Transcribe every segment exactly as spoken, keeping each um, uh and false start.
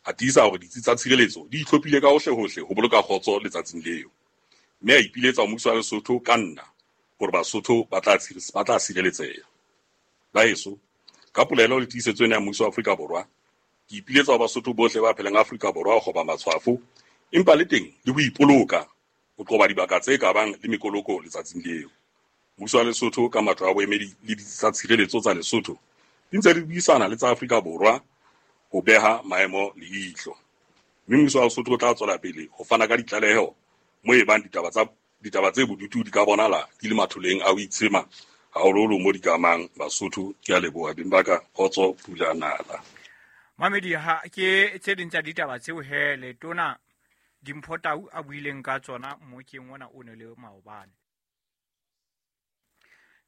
A tiisa hore ditsi tsa tshireletso di itlhophile ka hohlehohle ho boloka kgotso letsatsing leo. Mme a ipiletsa ho mmuso wa Lesotho ka nna hore Basotho ba tla ba tla sireletseha. Baheso, ka polelo le tiisetso ena ya mmuso wa Afrika Borwa, ke ipiletsa ho Basotho bohle ba phelang Afrika Borwa ho kgoba matshwafo, empa le teng le ho ipoloka ho qoba dibaka tse ka bang le mekoloko letsatsing leo. Mmuso wa Lesotho ka matlo a boemedi le ditsi tsa tshireletso tsa Lesotho di ntse di buisana le tsa Afrika Borwa ho beha maemo leihlo. Mme mmuso wa Lesotho o tla tswela pele ho fana ka ditlaleho mo e bang ditaba tsa ditaba tse bodutu di ka bonahala di le matholeng a ho itshema haholoholo mo di ka amang Basotho. Ke a leboha beng ba ka, kgotso pula nala. Mamedi, ha ke tse ding tsa ditaba tseo he letona Dimpho Tau a buileng ka tsona mmokeng ona o ne le maobane.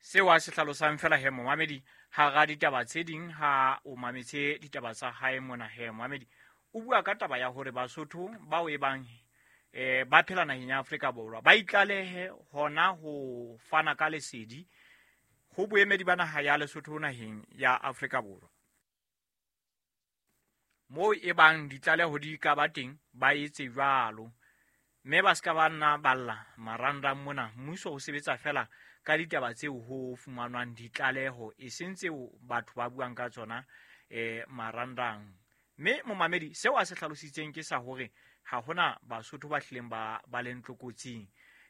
Seo a se hlalosang fela he momamedi hara ditaba tse ding ha o mametse ditaba tsa hae mona he momamedi, o bua ka taba ya hore Basotho bao e bang eh ba phela naheng ya Afrika Borwa ba itlalehe hona ho fana ka lesedi ho boemedi ba naha ya Lesotho naheng ya Afrika Borwa. Moo e bang ditlaleho di ka ba teng ba etse jwalo, mme ba ska ba nna balla marangrang mona. Mmuso o sebetsa fela ka ditaba tseo ho fumanwang ditlaleho, e seng tseo batho ba buang ka tsona eh marangrang. Mme momamedi, seo a se hlalositseng ke sa hore ha hona Basotho ba hlileng ba ba leng tlokotsing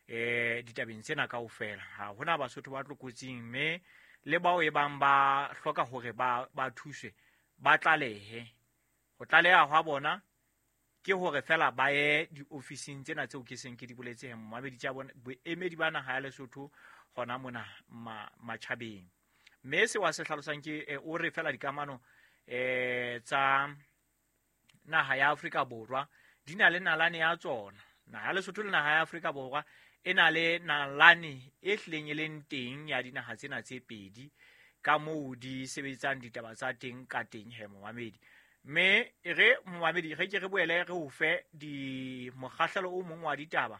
eh ditabeng tsena kaofela. Ha hona Basotho ba tlokotsing, mme le bao e bang ba hloka hore ba ba thuswe ba tlalehe. Ho tlaleha hwa bona ke hore fela ba ye diofising tsena tseo ke seng ke di boletse he momamedi, tsa bona boemedi ba naha ya Lesotho hona mona ma, matjhabeng. Mme seo a se hlalosang ke eh, o re fela dikamano eh tsa naha ya Afrika Borwa di na le nalane ya tsona. Naha ya Lesotho le naha ya Afrika Borwa e na le nalane e hlileng e leng teng ya dinaha tsena tse pedi ka moo di sebetsang ditaba tsa teng ka teng he momamedi. Mme re momamedi re ke re boele re o fe di mokgahlelo o mong wa ditaba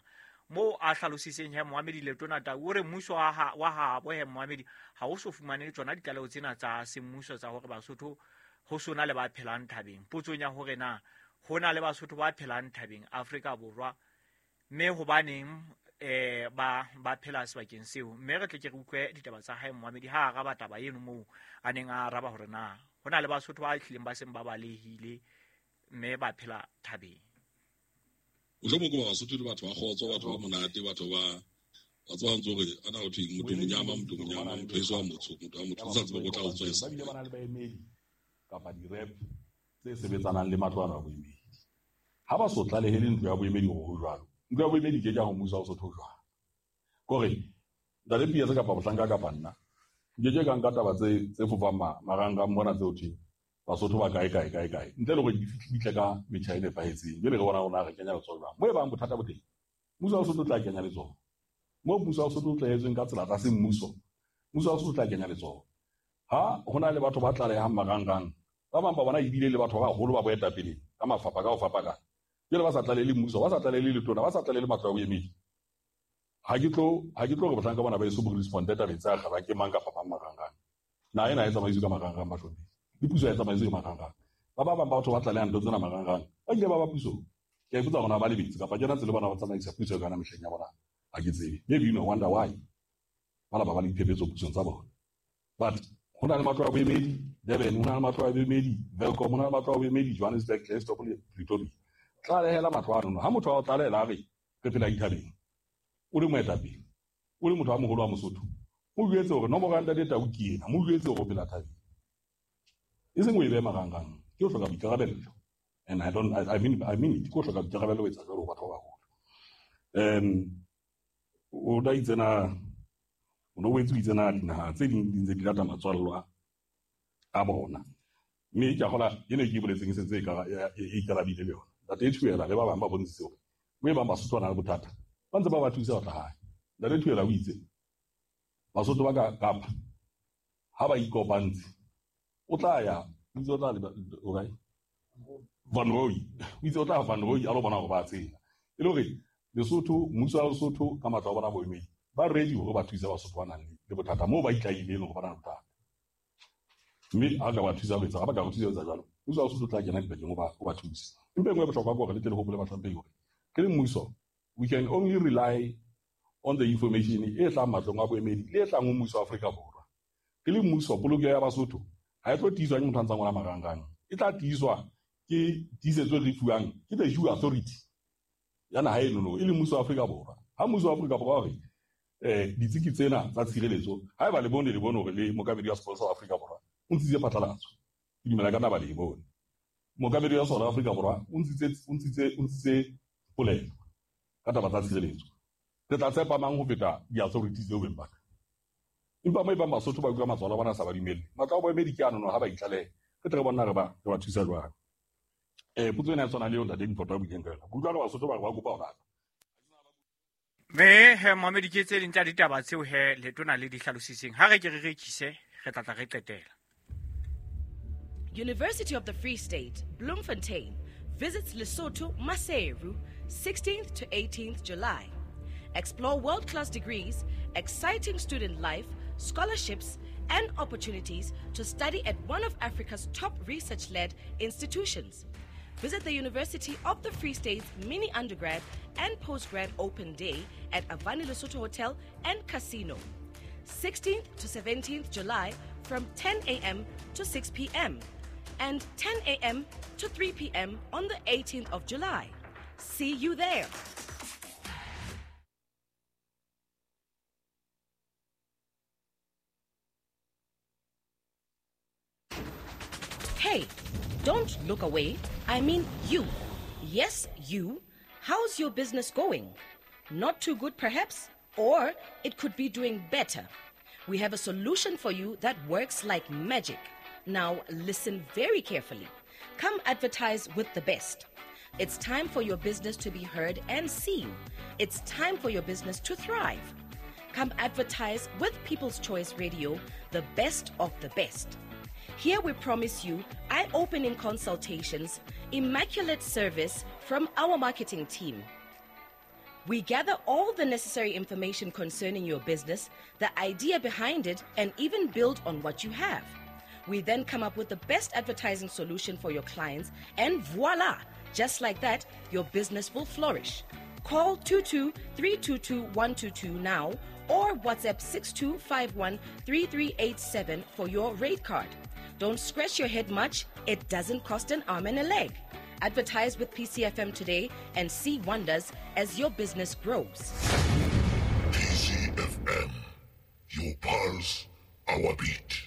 moo a hlalositseng he momamedi Letona Tau o re mmuso wa ha wa habo he momamedi ha o so fumane tsona ditlaleho tsena tsa semmuso tsa hore Basotho ho sona le ba phelang thabeng. Potsong ya hore na ho na le Basotho ba phelang thabeng Afrika Borwa, mme hobaneng eh ba ba phela sebakeng seo. Mme re tle ke re utlwe ditaba tsa hae momamedi ha araba taba eno moo a neng a araba hore na ho na le Basotho ba hlileng ba seng ba balehile mme ba phela thabeng. Mohlomong ke Basotho le batho ba kgotso, batho ba monate, batho ba ba tsebang ntse hore ana ho thweng motho monyama, motho monyama, motho eso wa motsho, motho wa motho o sa tsebe ho tla o tswesa. Ba bile ba na le baemedi kapa di-rep tse sebetsanang le matlo ana a boemedi. Ha ba so tlalehele ntlo ya boemedi hore ho jwalo, ntlo ya boemedi ke ke ya ho mmuso wa Lesotho jwang. Kore ntate Pietso kapa mohlanka kapa nna nke ke ka nka taba tse tse fofang marangrang mona tseo thweng Basotho ba kae kae kae kae ntle le hore di fihle ka metjha e nepahetseng. Jwale re bona rona re kenya letsoho jwang mo e bang bothata bo teng, mmuso wa Lesotho o tla kenya letsoho. Mo mmuso wa Lesotho o tlaetsweng ka tsela tsa semmuso, mmuso wa Lesotho o tla kenya letsoho. Ha hona le batho ba tlalehang marangrang, ba bang ba bona ebile le batho ba baholo ba boetapele ka mafapha ka ho fapana. Jwale ba sa tlalehele mmuso, ba sa tlalehele letona, ba sa tlalehele matlo a boemedi. Ha ke tlo ha ke tlo re bohlanka bona ba eso bo responde tabeng tsa kgaba ke mang kapa mang marangrang. Naha ena e tsamaiswe ka marangrang bahlomphehi. Le puso e tsamaiswe ka marangrang. Ba ba bang ba batho ba tlalehang ntho tsena marangrang, ba ile ba ba pusong. Ke a ipotsa hore na ba lebetse kapa ke yona tsela bona ba tsamaisa puso ka yona mehleng ya bona. Ha ke tsebe. Maybe you know, wonder why. Ba ba ba le diphephetso pusong tsa bona. But ho na le matlo a boemedi Durban, ho na le matlo a boemedi Welkom, ho na le matlo a boemedi Johannesburg, Klerksdorp le Pretoria. Tlalehela matlo ano. Ha motho a o tlalehela a re re phela dithabeng, o le moetapele, o le motho a moholo wa Mosotho, mo jwetse hore nomoro ya ntate Tau ke ena, mo jwetse hore o phela thabeng. E seng o e behe marangrang, ke ho hloka boikarabello. And I don't, I, I mean, I mean it, ke ho hloka boikarabello ho etsa jwalo ho batho ba baholo. Um, o da itse na, o no boetse o itse na dinaha tse ding di ntse di lata matswallwa a bona. Mme ke a kgola ene ke e boletseng e sentse e e ikarabile le yona. Ntate Thuela le ba bang ba bontshitse hore mo e bang Basotho ba na le bothata, ba ntse ba ba thusa ho tla hae. Ntate Thuela o itse Basotho ba ka Kapa ha ba ikopantse, o tla ya, o itse o tla o kae? Van Rooi. O itse o tla Van Rooi a lo bona hore ba tsela. E le hore Lesotho, mmuso wa Lesotho ka matlo a bona boemedi, ba ready hore ba thuse Basotho ba nang le bothata moo ba itlahileng hore ba na le bothata. Mme ha ka ba thusa ho etsa, ha ba ka re thusa ho etsa jwalo, Mmuso wa Lesotho o tla kena dipakeng o ba o ba thuse. Empa e nngwe e bohlokwa ke hore le tle le hopole bahlomphehi hore ke le mmuso, we can only rely on the information e tlang matlong a boemedi le e tlang ho mmuso wa Afrika Borwa. Ke le mmuso, polokeho ya Basotho ha e tlo tiiswa ke motho a ntsang ngola marangrang, e tla tiiswa ke tiisetso e re fuwang ke the due authority ya naha enono, e leng mmuso wa Afrika Borwa. Ha mmuso wa Afrika Borwa o re eh ditsiki tsena tsa tshireletso, haeba le bone le bone hore le mookamedi wa sepolesa wa Afrika Borwa o ntshitse phatlalatso, ke dumela ka nna ba le e bone. Mookamedi wa sona wa Afrika Borwa o ntshitse o ntshitse o ntshitse polelo ka taba tsa tshireletso. Re tla tshepa mang ho feta di-authorities tseo beng ba ka? Empa mo e bang Basotho ba utlwa matswalo a bona a sa ba dumelle, matlo a boemedi ke ano ha ba itlalehe, re tle re bona re ba re ba thusa jwang. Eh potso ena e tshwana le eo ntate Mphoto a buileng ka yona. Ke utlwa re Basotho ba re ba kopa ho rata. Mme he momedi ke tse ding tsa ditaba tseo he letona le di hlalositseng. Ha re ke re rekise, re tla tla re qetela. University of the Free State, Bloemfontein, visits Lesotho, Maseru, sixteenth to eighteenth July. Explore world-class degrees, exciting student life, scholarships, and opportunities to study at one of Africa's top research-led institutions. Visit the University of the Free State's mini undergrad and postgrad open day at Avani Lesotho Hotel and Casino, sixteenth to seventeenth July from ten A M to six P M and ten A M to three P M on the eighteenth of July. See you there. Hey, don't look away. I mean you. Yes, you. How's your business going? Not too good, perhaps? Or it could be doing better. We have a solution for you that works like magic. Now, listen very carefully. Come advertise with the best. It's time for your business to be heard and seen. It's time for your business to thrive. Come advertise with People's Choice Radio, the best of the best. Here we promise you eye-opening consultations, immaculate service from our marketing team. We gather all the necessary information concerning your business, the idea behind it, and even build on what you have. We then come up with the best advertising solution for your clients, and voila! Just like that, your business will flourish. Call two two three two two one two two now or WhatsApp six two five one three three eight seven for your rate card. Don't scratch your head much. It doesn't cost an arm and a leg. Advertise with P C F M today and see wonders as your business grows. P C F M, your pulse, our beat.